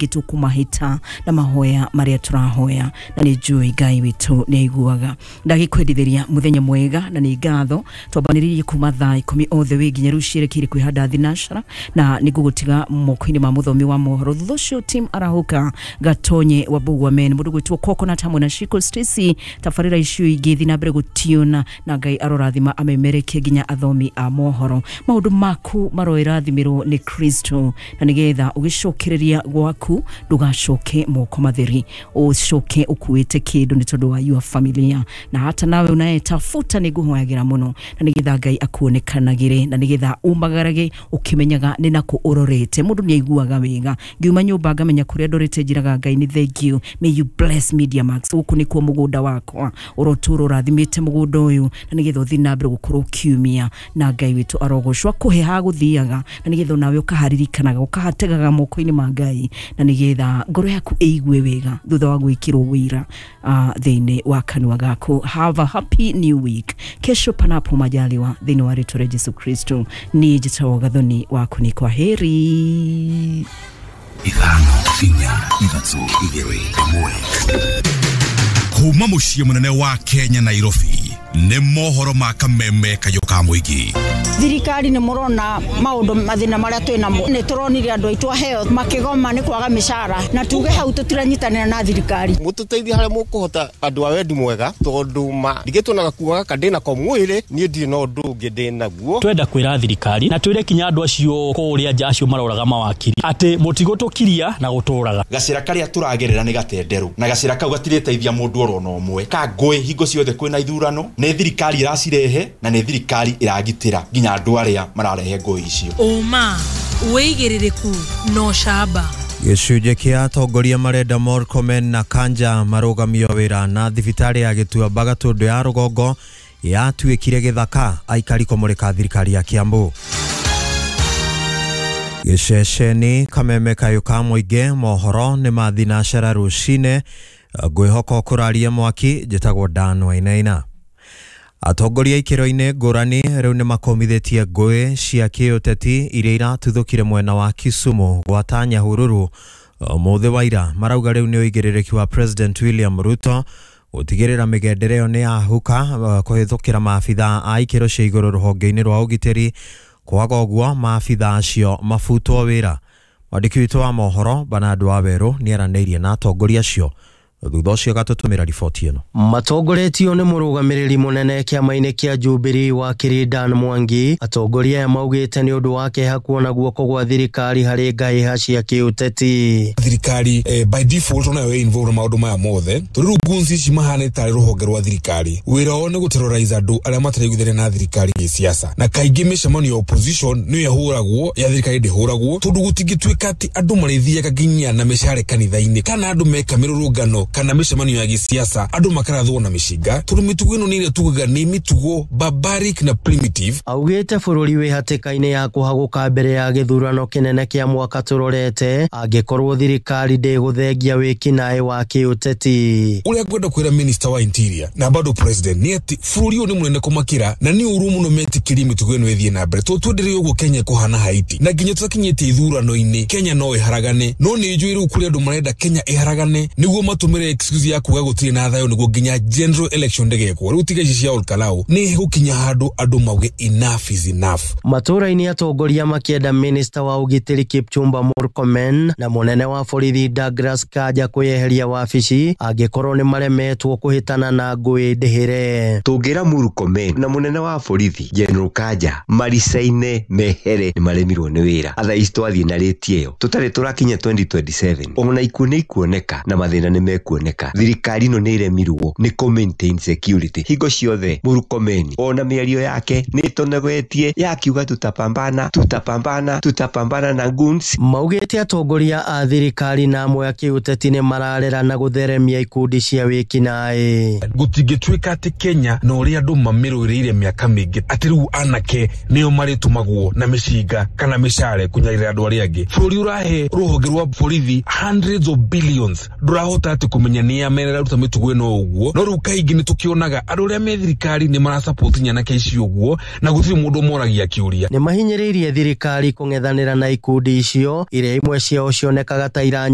maingĩ tũkũmahĩta na mahoya marĩa tũrahoya, na nĩ njũĩ Ngai witũ nĩ aiguaga. Ndagĩkwendithĩria mũthenya mwega na nĩ ngatho twambanĩrĩirie kuma thaa 10 othe wĩ nginya rĩu ciĩrekeire kwĩhanda thinacara, na nĩ ngũgũtiga moko-inĩ ma mũthomi wa mohoro. Thutha ũcio Tim Arahũka Gatonye wa Mbugua Men, mũndũ gwĩtwo Coconut hamwe na Shiko Stacy, tabarĩra icio ingĩ thiĩ na mbere gũtiona, na Ngai arorathima amemerekie nginya athomi a mohoro. Maũndũ maku maroĩrathimĩrwo nĩ Kristo, na nĩgetha ũgĩcokereria gwaku ndũgacoke moko matheri, ũcoke ũkuĩte kĩndũ nĩ tondũ wa your familia, na hata nawe unayetafuta nĩ ngũhoyagĩra mũno, na nĩgetha Ngai akuonekanagĩre, na nĩgetha umagarage ũkĩmenyaga nĩ nakũ ũrorete. Mũndũ nĩ aiguaga wega ngiuma nyũmba ngamenya kũrĩa ndorete, njĩraga Ngai nĩ thank you, may you bless Media Max, gũkũ nĩkuo mũgũnda wakwa, ũrotũra ũrathimĩte mũgũnda ũyũ, na nĩgetha ũthiĩ na mbere gũkorwo ũkiumia, na Ngai witũ arogocwo akũhe ha gũthiaga, na nĩgetha onawe ũkaharirikanaga ũkahategaga moko-inĩ ma Ngai, na nĩgetha ngoro yaku ĩigue wega thutha wa gwĩkĩrwo wĩra thĩinĩ wa kanua gaku. Have a happy new week. Kesho panapo majaliwa thĩinĩ wa rĩtwa rĩa Jesu Kristo. Niĩ njĩtagwo Gathoni waku, nĩ kwa heri. 5 4 3 2 1. Kuma mũciĩ mũnene wa Kenya Nairobi nĩ mohoro ma kameme kayũ ka mũingĩ. Thirikari nĩ mũrona maũndũ mathĩna marĩa twĩ namo, nĩ tũronire andũ aitũ a health makĩgoma nĩ kwaga mĩcara, na tuge hau tũtiranyitanĩra na thirikari. Mũtũteithie harĩa mũkũhota andũ a wendi mwega, tondũ ma ndigĩtwo na gakuo gaka ndĩ nako mwĩrĩ, niĩ ndirĩ na ũndũ ũngĩ ndĩ naguo. Twenda kwĩra thirikari na twĩre kinya andũ acio kũrĩa nja acio maroraga mawakiri atĩ mũtigũtũkiria na gũtũraga. Gacĩra karĩa tũragerera nĩ gatenderũ, na gacĩra kau gatirĩteithia mũndũ oro na ũmwe. Ka ngũĩ hingo ciothe kwĩna ithurano, nĩ thirikari ĩracirehe na nĩ thirikari ĩragitĩra nginya andũ arĩa mararehe ngũĩ icio. Ũma, wĩigĩrĩrĩku na ũcamba. Gĩcunjĩ kĩa atongoria marenda Murkomen na Kanja marũgamio wĩra na thibitarĩ ya Gĩtuamba Gatũndũ ya rũgongo yatuĩkire gĩthaka aikari kũmũrĩka thirikari ya Kiambu. Gĩceceni kameme kayũ ka mũingĩ mohoro nĩ ma thinacara rũcinĩ, ngwĩhoka ũkũraria mwaki. Njĩtagwo Dan Wainaina. Atongoria ikĩro-inĩ ngũrani rĩu nĩ makomithĩtie ngũĩ cia kĩũteti iria iratuthũkire mwena wa Kisumu gwata Nyahururu ũmũthĩ wa ira. Marauga rĩu nĩ ũigĩrĩrĩki wa President William Ruto gũtigĩrĩra mĩgendere ĩyo nĩ yahuka kũhĩtũkĩra maabitha a ikĩro cia igũrũ rũhonge-inĩ rwa ũgitĩri, kwaga ũguo maabitha acio mabutwo wĩra. Mwandĩki witũ wa mohoro Bernard Wawerũ nĩaranĩirie na atongoria acio thutha ũcio gatũtũmĩra riboti ĩno. Matongoretio nĩ mũrũgamĩrĩri mũnene kĩama-inĩ kĩa Jubilee wakiri Dan Mwangi, atongoria aya maugĩte nĩ ũndũ wa kĩeha kuona guoko gwa thirikari harĩ ngahĩha cia kĩũteti. Thirikari by default onayo ĩ involved na maũndũ maya mothe, tondũ rĩu goons ici mahana tarĩ rũhonge rwa thirikari. Wĩra wao nĩ gũterrorize andũ arĩa mataraiguithania na thirikari gĩsiasa, na kaingĩ mĩcemanio ya opposition nĩyo ĩhũragwo, ya thirikari ndĩhũragwo, tondũ gũtingĩtuĩka atĩ andũ marĩthiaga nginya na mĩcare kanitha-inĩ kana andũ meka mĩrũrũngano kana mĩcemanio ya gĩsiasa andũ makarathwo na mĩcinga, tondũ mĩtugo ĩno nĩ ĩrĩa tugaga nĩ mĩtugo barbaric na primitive. Augĩte bũrũri wĩ hatĩka-inĩ ya kũhagũka mbere ya gĩthurano kĩnene kĩa mwaka tũrorete angĩkorwo thirikari ndĩgũthengia wĩkinaĩ wa kĩũteti. Ũrĩa ngwenda kwĩra minister wa interior na bado president nĩ atĩ bũrũri ũyũ nĩ mũnene kũmakĩra, na nĩ ũru mũno metĩkĩrie mĩtugo ĩno ĩthiĩ na mbere, tondũ twendereire ũguo Kenya ĩkũhana Haiti, na nginya tũtakinyĩte ithurano-inĩ Kenya no ĩharagane. No nĩ njũĩ rĩu kũrĩ andũ marenda Kenya ĩharagane nĩguo matũmĩre excuse ya kuga gũtirĩ na thayũ nĩguo nginya general election ndĩgekwo. Rĩu tiga ici cia Olkalau nĩ gũkinya handũ andũ mauge enough is enough. Matũra-inĩ atongoria makĩenda minister wa ũgitĩri Kipchumba Murkomen na mũnene wa borithi Douglas Kanja kwĩyeheria wabici angĩkorwo nĩ maremetwo kũhĩtana na ngũĩ ndĩhĩre. Tũngĩra Murkomen na mũnene wa borithi General Kanja maricaine mehere nĩ maremirwo nĩ wĩra. Atha ici twathiĩ na rĩti ĩyo tũtarĩ tũrakinya 2027 ona ikuũ nĩ ikuoneka na mathĩna nĩ mekuoneka. Thirikari ĩno nĩ ĩremirwo nĩ kũ maintain security hingo ciothe. Murkomen ona mĩario yake nĩ ĩtonegoetie yakiuga tutapambana tutapambana tutapambana na goons. Maugĩte atongoria a thirikari na amwe a kĩũteti nĩ mararera na gũtheremia ikundi cia wĩkinaĩ. Gũtingĩtuĩka atĩ Kenya na ũrĩa andũ mamĩrũĩrĩire mĩaka mĩingĩ atĩ rĩu anake nĩo marĩtũmagwo na mĩcinga kana mĩcare kũnyarĩra andũ arĩa angĩ. Bũrũri ũrahe rũhonge rwa borithi hundreds of billions ndũrahota atĩ kũmenya nĩa meraruta mĩtugo ĩno ũguo. No rĩu kaingĩ nĩ tũkĩonaga andũ arĩa me thirikari nĩ marasupport nyanake ici ũguo, na gũtirĩ mũndũ ũmoragia kĩũria. Nĩ mahinyĩrĩirie thirikari kũng'ethanĩra na ikundi icio iria imwe ciao cionekaga ta iranyita